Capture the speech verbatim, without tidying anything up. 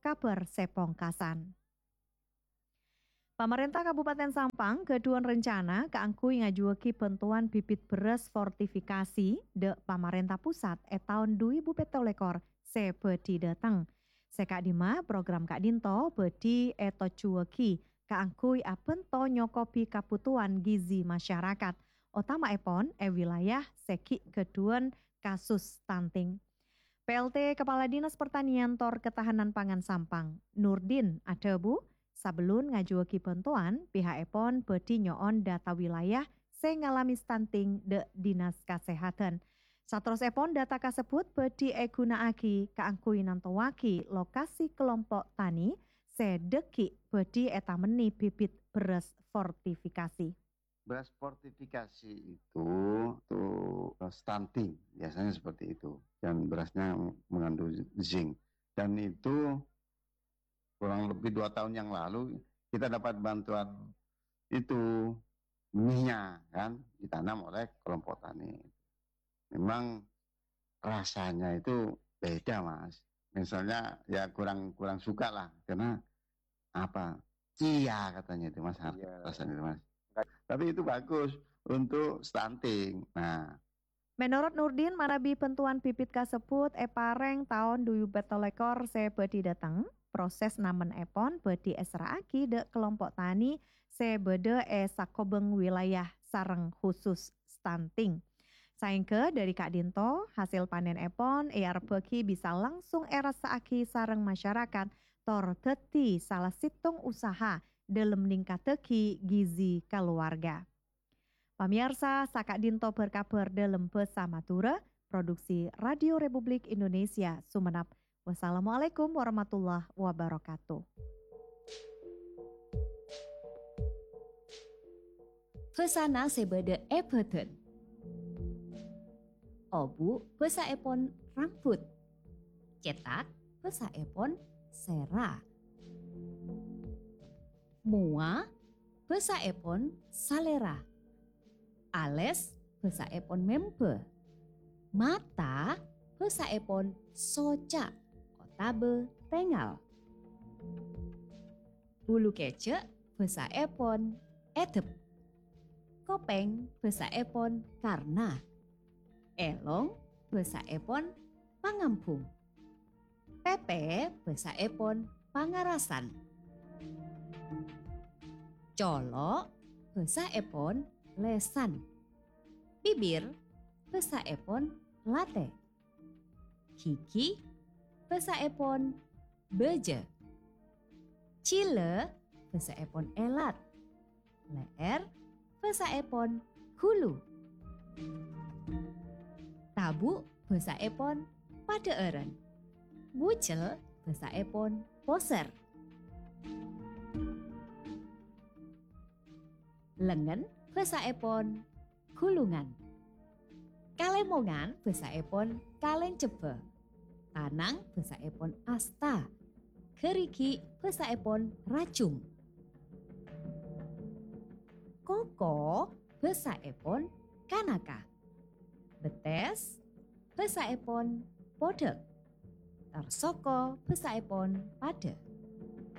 kabhâr sè pongkasan. Pamarènta Kabupaten Sampang ghâdhuwân rencana kaangghuy ngajuwâghi bhântowan bibit bherrâs fortifikasi dhâ' pamarènta pusat è taon du èbu pètto lèkor sè bhâdhi dhâteng. Sè ka'dimma, program ka'dinto bhâdhi ètojjhuwâghi kaangghuy abhânto nyokobi kabhutowan gizi masyarakat, otama'èpon è wilayah sè ghi' ghâdhuwân kasus stunting. P L T Kepala Dinas Pertanian tor Ketahanan Pangan Sampang, Nurdin, adhâbu, sabellun ngajuwâghi bhântowan, piha'èpon bhâdhi nyo'on data wilayah sè ngalamè stunting dhâ' Dinas Kasèhadhân. Saterrossèpon data kasebbhut bhâdhi èghuna'aghi kaangghuy nantowaghi lokasi kelompo' tani sè dhâggi' bhâdhi ètamennè bibit bherrâs fortifikasi. Beras fortifikasi itu, itu stunting, biasanya seperti itu. Dan berasnya mengandung zinc. Dan itu kurang lebih dua tahun yang lalu kita dapat bantuan itu, benihnya kan, ditanam oleh kelompok tani. Memang rasanya itu beda, Mas. Misalnya ya kurang, kurang suka lah, karena apa? Cia katanya itu, Mas, Iya. rasanya itu, Mas. Tapi itu bagus untuk stunting. Nah, Menorot Nurdin, manabi bhântowan bibit kasebbhut èparèng taon du èbu pètto lèkor sè bhâdhi dhâteng, proses namenèpon bhâdhi èserra'aghi dhâ' kelompo' tani sè bâdâ è sakobhâng wilayah sareng khusus stunting. Saèngghâ dhâri ka'dinto, hasèl panènèpon èarebbhâghi bisa langsung èrassa'aghi sareng masyarakat, tor dhâddhi sala sèttong usaha dhâlem ningkaddhâghi gizi kaluwarga. Pamèyarsa, saka'dinto bhâr-kabhâr dhâlem bhâsa Madhurâ, produksi Radio Republik Indonesia Sumenep. Wassalamualaikum warahmatullahi wabarakatuh. Bhâsana sè bâdâ è bhâdhân. Obu' bhâsaèpon rambut. Cètak bhâsaèpon sèra. Mowa bhâsaèpon salèra. Alès bhâsaèpon membhâ. Mata bhâsaèpon soca' otabâ tèngal. Bulu kèjhâ' bhâsaèpon èdhep. Kopèng bhâsaèpon karna. Èlong bhâsaèpon pangambhung. Pèpè bhâsaèpon pangarasan. Colo' bhâsaèpon lèsan. Bibir bhâsaèpon latè. Ghighi bhâsaèpon bâjâ. Jhilâ bhâsaèpon èlat. Lè'èr bhâsaèpon ghulu. Tabu' bhâsaèpon padhâ'ârân. Bujel bhâsaèpon posèr. Lengngen bhâsaèpon ghulungan. Kalèmongan bhâsaèpon kalèncebbhâ. Tanang bhâsaèpon asta. Ghârighi' bhâsaèpon rajung. Koko bhâsaèpon kanaka. Bettès bhâsaèpon podhâk. Tor soko bhâsaèpon padhâ.